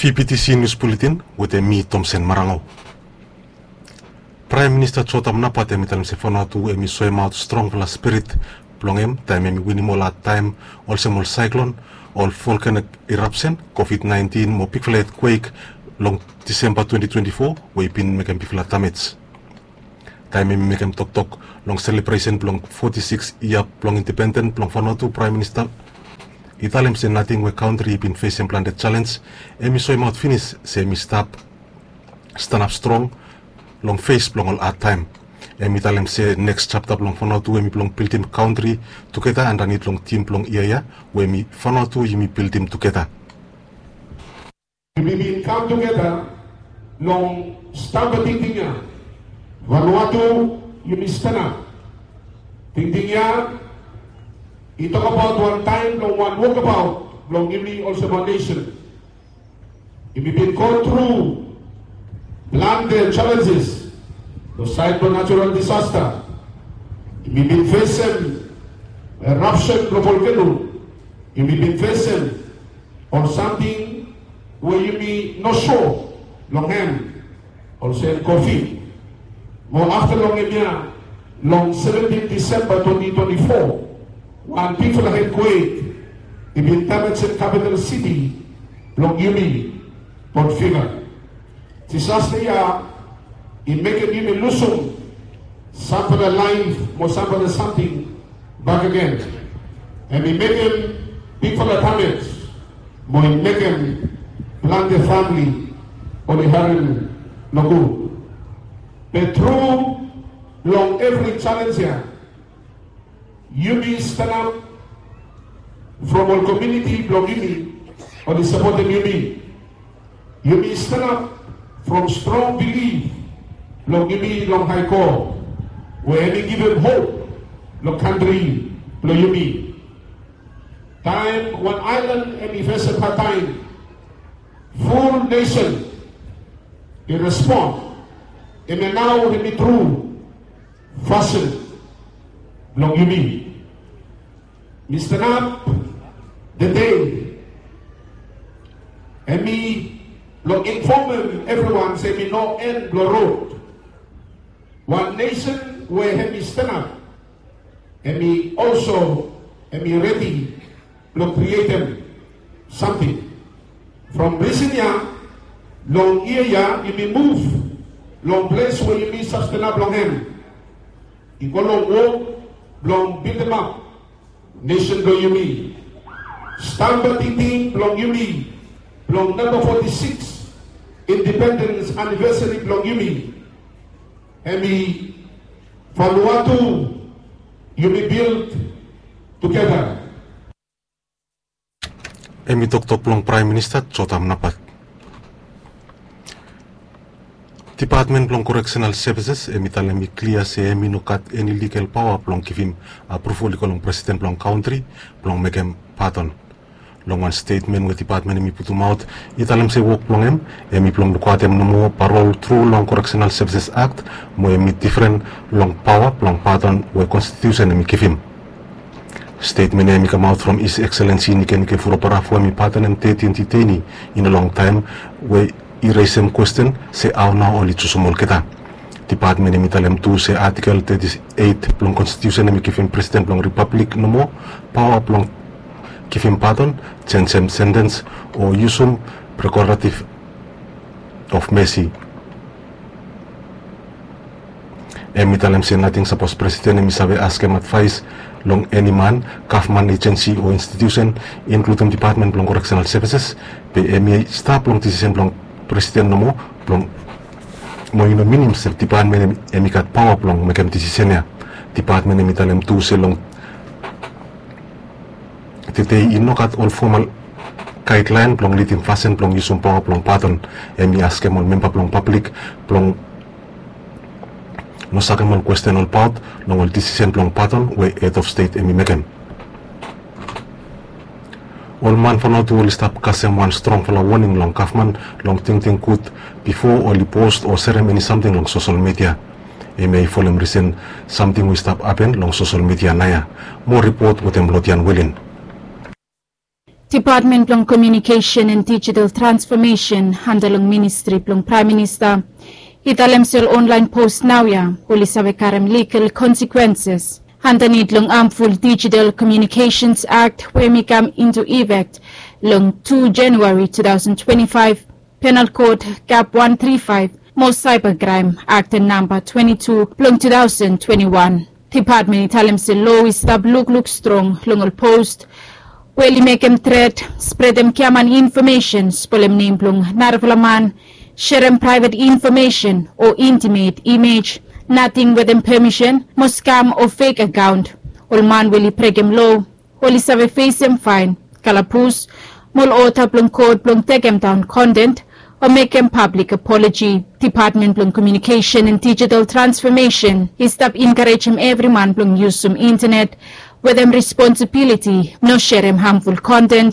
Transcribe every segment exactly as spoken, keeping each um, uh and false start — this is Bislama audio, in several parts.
V P T C News Bulletin wetem mi, Tomsen Marango. Praem Minista Jotam Napat hem i talem se Vanuatu hem i soemaot strongfala spirit blong hem taem hem i winim ol hadtaem olsem ol saeklon, ol volkanik irapsen, Covid nineteen mo bigfala etkwek long Disemba twenti twenti fo we i bin mekem bigfala damej. Taem hem i mekem toktok long selebresen blong foti sikis yia blong independen blong Vanuatu, Praem Minista i talem se nating we kantri i bin fesem plante jalenj, hem i soemaot finis se hem i stap stanap strong long fes blong ol hadtaem. Hem i talem se neks japta blong Vanuatu hem i blong bildim kantri tugeta andanit long tim blong yia ya we hem i Vanuatu yumi bildim tugeta. Yumi bin kam tugeta long stamba tingting ya. Vanuatu, yumi stanap. Tingting ya i tokbaot wan taem blong wan wokbaot blong yumi olsem wan nesen. Yumi bin go tru plante jalenjes long saed blong natural disasta. Yumi bin fesem erapsen blong volkeno. Yumi bin fesem ol samting we yumi no sua long hem, olsem Covid. Mo afta long hemia, long seventin Disemba twenti twenti fo, wan bigfala etkwek i bin damejem kapital siti blong yumi, Port Vila. Disasta ya i mekem yumi lusum samfala laef mo samfala samting bakegen. Hem i mekem bigfala damej mo i mekem plante famle oli harem nogud. Be tru long evri jalenj ya, yumi stanap from ol komuniti blong yumi oli sapotem yumi. Yumi stanap from strong bilif blong yumi long Hae God we hem i givim hop long kantri blong yumi. Taem wan aelan hem i fesem hadtaem, ful nesen i respon. Hemia nao hem i tru fasin blong yumi. Mi stanap tede, hem i blong infomem evriwan se hem i no en blong rod. Wan nesen we hem i stanap, hem i olso, hem i redi blong krietem samting. From risen ya, long yia ya yumi muv long ples we yumi save stanap long hem. I go long wok blong bildimap nesen blong yumi. Stamba tingting blong yumi blong namba foti sikis indipendens anivesari blong yumi, hem i Vanuatu yumi bild tugeta. Hem i toktok blong Praem Minista Jotam Napat. Dipatmen blong Koreksenal Sevises hem i talem i klia se hem i no gat eni ligal paoa blong givim apruval i go long presiden blong kantri blong mekem padon. Long wan stetmen we dipatmen hem i putumaot, i talem se wok blong hem hem i blong lukaotem nomo parol tru long Koreksenal Sevises Akt, mo hem i difren long paoa blong padon we konstitiusen hem i givim. Stetmen ya hem i kamaot from His Excellency Nikenike Vurobaravu, hem i padonem tetin diteini in a long taem, we i resem kwesten se hao nao oli jusum olgeta. Dipatmen hem i talem tu se Atikel teti eit blong konstitiusen hem i givim presiden blong ripablik nomo paoa blong givim padon, jenjem sentens o yusum prerogative of mercy. Hem i talem se nating sapos presiden hem i save askem advaes long eni man, gavman ejensi o institiusen, inkludem Dipatmen blong Koreksenal Sevises, be hem i stap long disisen blong presiden nomo, blong, mo i no minim se dipatmen hem, hem i gat paoa blong mekem disisen ya. Dipatmen hem i talem tu se long tede i no gat ol fomal gaedlaen blong lidim fasin blong yusum paoa blong padon. Hem i askem ol memba blong pablik blong no sakem ol kwesten olbaot long ol disisen blong padon we hed of stet hem i mekem. Ol man Vanuatu oli stap kasem wan strongfala woning long gavman long tingting gud bifo oli post o serem eni samting long sosel midia. Hemia i folem risen samting we i stap hapen long sosel midia naoia. Moa ripot wetem Lodian Wilin. Depatmen blong Komiunikesen and Dijital Transfomesen anda long ministri blong Praem Minista i talem se ol onlaen pos naoia oli save karem ligal konsekwenses andanit long hamful Dijital Komiunikesens Akt we hem i kam intu ifek long tu Januari tu taosen twenti faef, Penal Kod Kap wan tri faef mo Saeba Kraem Akt namba twenti tu blong tu taosen twenti wan. Depatmen i talem se loa i stap lukluk strong long ol pos we oli mekem tret, spredem giaman infomesen, spolem nem blong narafala man, serem praevet infomesen o intimet imej nating wetem pemisen, mo skam o fek akaon. Ol man we oli brekem loa oli save fesem faen, kalabus, mo ol oda blong kot blong tekemdaon konten o mekem pablik apoloji. Depatmen blong Komiunikesen and Dijital Transfomesen i stap enkarejem evri man blong yusum intenet wetem responsibiliti, no serem hamful konten,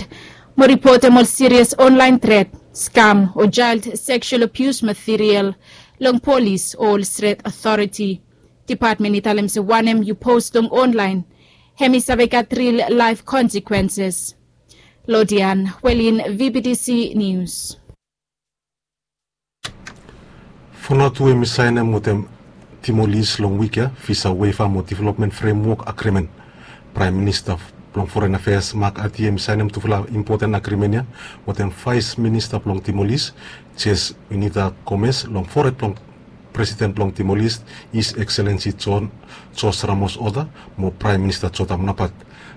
mo ripotem ol sirias onlaen tret, skam o jael seksual abius material long polis o ol stret otoriti. Depatmen i talem se wanem yu pos long onlaen hem i save gat ril laef konsekwenses. Lodian Welin, V B T C Nius. Vanuatu hem i saenem wetem Timor-Leste long wik ya visa waiver mo development framework agreement. Praem Minista blong Foren Afeas Mark Ati hem i saenem tufala impoten agremen ya wetem Vaes Minista blong Timor-Leste, Jes Unita Gomez, long fored blong Presiden blong Timor-Leste, His Excellency John George Ramos Horta, mo Praem Minista Jotham Napat.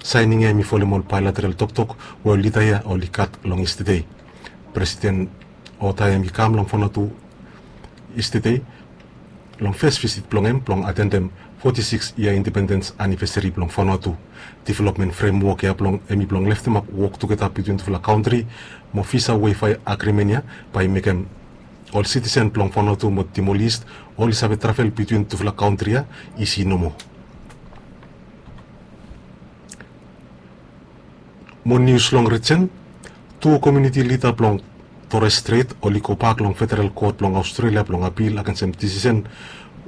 Saening ya hem i folem ol baelateral toktok we ol lida ya oli gat long yestede. Presiden Horta hem i kam long Vanuatu yestede long fes visit blong hem blong atendem foti sikis yia independens anivesari blong Vanuatu. Developmen fremwok ya blong hem i blong leftemap wok tugeta bitwin tufala kantri, mo visa waiver agrimen ya bae i mekem ol sitisen blong Vanuatu mo Timor-Leste oli save travel bitwin tufala kantri ya isi nomo. Mo nius long rijen, tu komuniti lida blong Torres Strait oli gobak long Federal Kot blong Aostrelia blong apil agensem disisen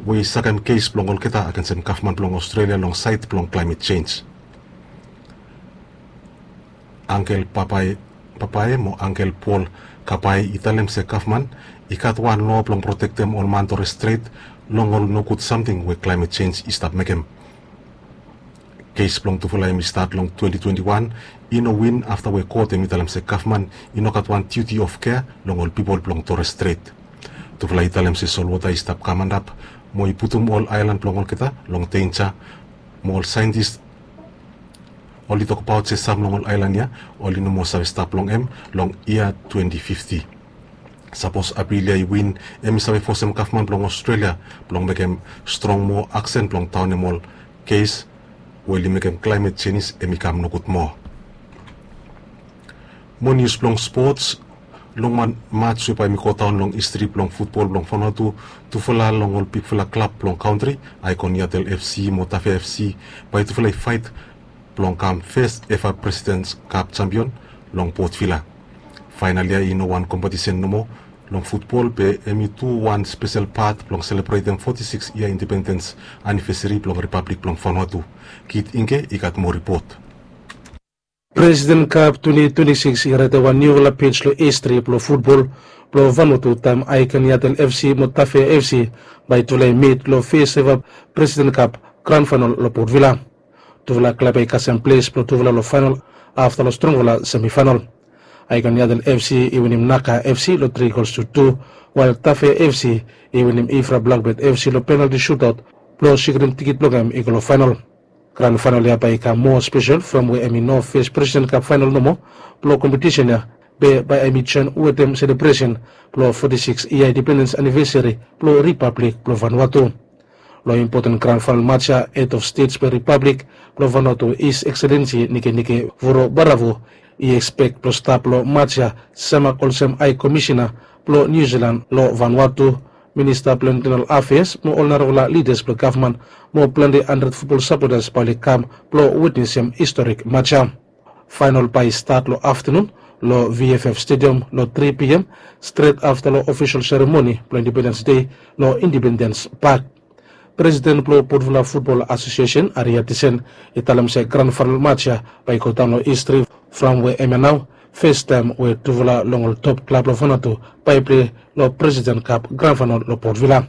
we i sakem kes blong olgeta agensem gavman blong Aostrelia long saed blong klaemet jenj. Angkel Papae, Papae mo Angkel Paul Kapae i talem se gavman i gat wan loa blong protektem ol man Torres Strait long ol nogud samting we klaemet jenj i stap mekem. Kes blong tufala hem i stat long twenti twenti wan, i no win afta we kot hem i talem se gavman i no gat wan diuti of kea long ol pipol blong Torres Strait. Tufala i talem se solwota i stap kam antap mo i putum ol aelan blong olgeta long denja, mo ol saentis oli tokbaot se sam long ol aelan ya oli no moa save stap long hem long yia twenti fifti. Sapos apil ya i win, hem i save fosem gavman blong Aostrelia blong mekem strong moa aksen blong daonem ol kes we oli mekem klaemet jenj hem i kam nogud moa. Mo nius blong spots, long wan maj we bae hem i godaon long histri blong futbol blong Vanuatu, tufala long ol bigfala klab blong kantri, Icon Yatel F C mo Tafea F C, bae tufala i faet blong kam fes eva Presidents Cup jampion long Port Vila. Faenal ya i no wan kompetisen nomo long futbol, be hem i tu wan spesel pat blong selebretem foti sikis yia independens anivesari blong Ripablik blong Vanuatu. Kit Ingke i gat moa ripot. Presiden Kap twenti twenti sikis i raetem wan niufala pej long histri blong futbol blong Vanuatu taem Icon Yatel F C mo Tafea F C bae tufala i mit long fes eva Presiden Kap gran faenal long Port Vila. Tufala klab ya i kasem ples blong tufala long faenal afta long strongfala semifaenal. Icon Yatel F C i winim Naka F C long tri gols tu tu, wael Tafea F C i winim Ifra Blakbet F C long penalti sutaot blong sikrim tikit blong hem i go long faenal. Gran faenal ya bae i kam moa spesel from we hem i no fes Presiden Kap faenal nomo blong kompetisen ya, be bae hem i joen wetem selebresen blong foti sikis yia independens anivesari blong Ripablik blong Vanuatu. Long impoten gran faenal maj ya, Head of State blong Ripablik blong Vanuatu, His Excellency Nikenike Vurobaravu, i ekspek blong stap long maj ya semak olsem Hae Komisena blong Niu Silan long Vanuatu, Minista blong Intenal Afeas mo ol narafala lidas blong gavman mo plante handred futbol sapotas bae oli kam blong witnesem historik maj ya. Faenal bae i stat long aftenun long V F F Stadium long tri P M, stret afta long ofisol seremoni blong Independens Dei long Independens Pak. Presiden blong Potvila Futbol Asosiesen, Aria Tisen, i talem se gran faenol mats ya bae i godaon long histri, from we hemia nao fes taem we tufala long ol top klab long Vanuatu bae i plei long Presiden Kap gran faenol long Potvila.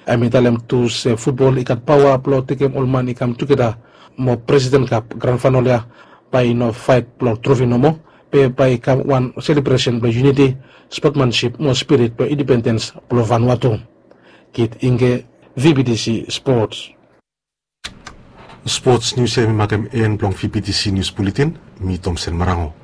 Hem i talem tu se futbol i gat paoa blong tekem ol man i kam tugeta mo Presiden Kap gran faenol ya bae i no faet blong trofi nomo, be bae i kam wan selebresen blong yuniti, spotmansip mo spirit blong indipendens blong Vanuatu. Kit Ingge, VBTC Sports. Sports nius ya hemi makem en blong VBTC Nius Buletin. Mi Tomsen Marango.